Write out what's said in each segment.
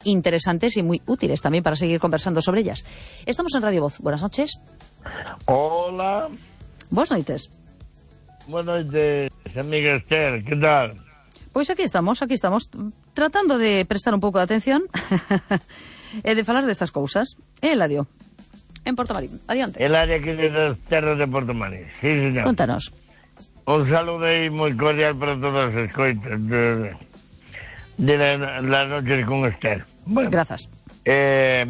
interesantes y muy útiles también para seguir conversando sobre ellas. Estamos en Radio Voz. Buenas noches. Hola. Buenas noites. Buenas noches, amiga Esther, ¿qué tal? Pois aquí estamos, tratando de prestar un pouco de atención e de falar destas cousas. Eladio, en Portomarín, adiante. El área aquí de las terras de Portomarín, sí, señor. Contanos. Un saludo aí moi cordial para todas as coitas de las noches con Esther. Bueno, Grazas. É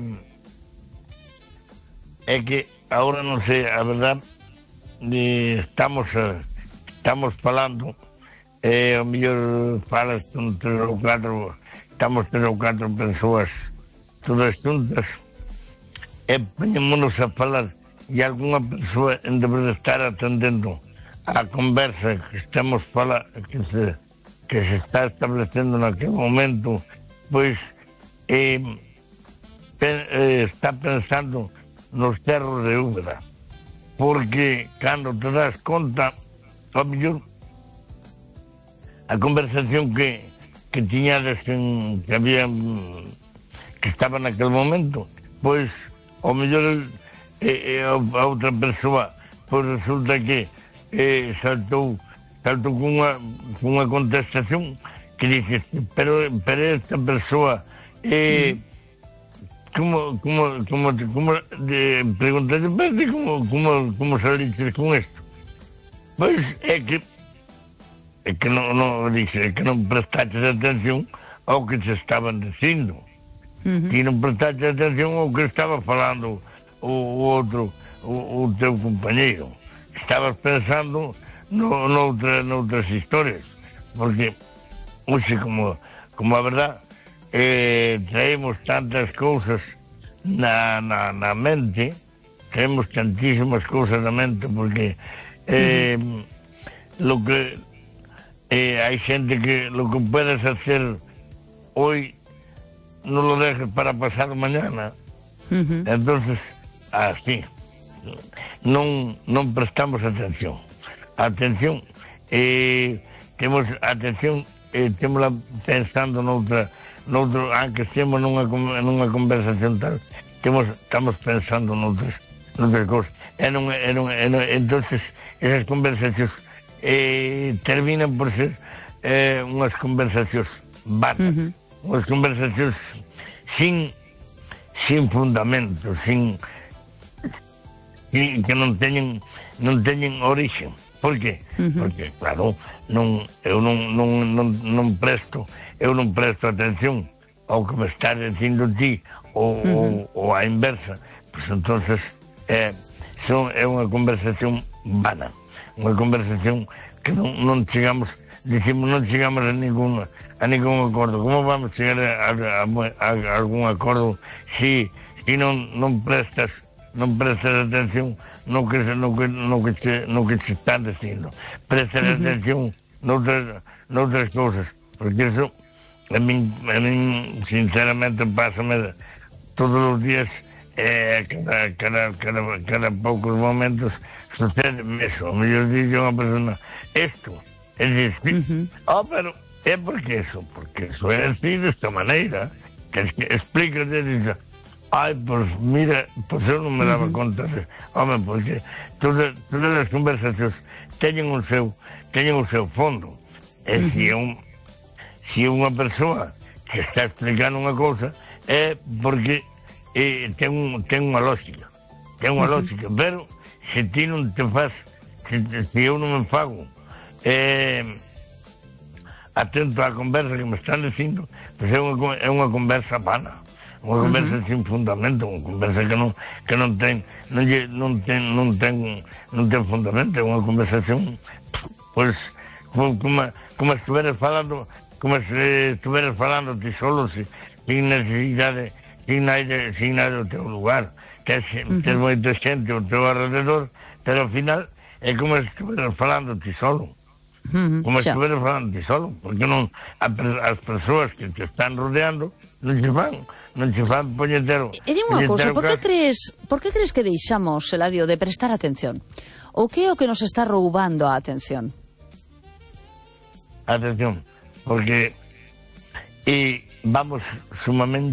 que agora non sei, a verdad, estamos falando, o mellor falas con 3 ou 4, estamos 3 ou 4 persoas todas juntas, e poñémonos a falar, e algunha persoa en debe de estar atendendo a conversa que estamos que se está establecendo naquele momento, pois está pensando nos cerros de Úbeda, porque cando te das conta, ao mellor a conversación que tiñades que había que estaba naquele momento, pois ao mellor a outra persoa pois resulta que saltou cunha contestación que dices, pero esta persoa como preguntaste, como saliste con isto? Pois é que non dixe, que non prestaste atención ao que se estaban dicindo, que non prestaste atención ao que estaba falando o teu compañeiro. Estabas pensando noutras historias, porque hoxe, como a verdad, traemos tantas cousas na mente, traemos tantísimas cousas na mente, porque lo que hai xente que lo que puedes hacer hoy non lo dejes para pasar mañana. Entonces, así non prestamos atención, temos atención, temos pensando noutro, aunque estemos nunha conversación tal, estamos pensando noutras cousas, entonces esas conversacións terminan por ser unhas conversacións vanas, unhas conversacións sin fundamento, que non teñen orixe. Por qué? Porque, claro, eu non presto atención ao que me estás dicindo ti ou á inversa, pois entonces é unha conversación vana, unha conversación que non chegamos a ningún acordo. Como vamos chegar a algún acordo se non prestas atención no que te están dicindo? Prestas atención noutras cousas, porque eso a min sinceramente pásame todos os días, cada poucos momentos sucede eso. A mellor dice unha persona isto, é dicir, pero é porque eso é así desta maneira, que explícate, dice, pues mira, pues eu non me daba conta de, porque todas as conversacións teñen o seu fondo, e se unha persoa que está explicando unha cousa é porque ten unha lógica, pero se ti non te faz, se eu non me fago atento á conversa que me están dicindo, pois é unha conversa vana, unha conversa sin fundamento, unha conversa que non ten fundamento, é unha conversación pois como estuveras falando ti solo, sin necesidade, sin nada do teu lugar, tes moita xente ao teu alrededor, pero ao final é como estuveras falando ti solo. Como estuveras falando ti solo, porque non as persoas que te están rodeando non se fan puñetero. E dime unha cousa, por que crees que deixamos, Eladio, de prestar atención? O que é o que nos está roubando a atención? Atención, porque vamos sumamente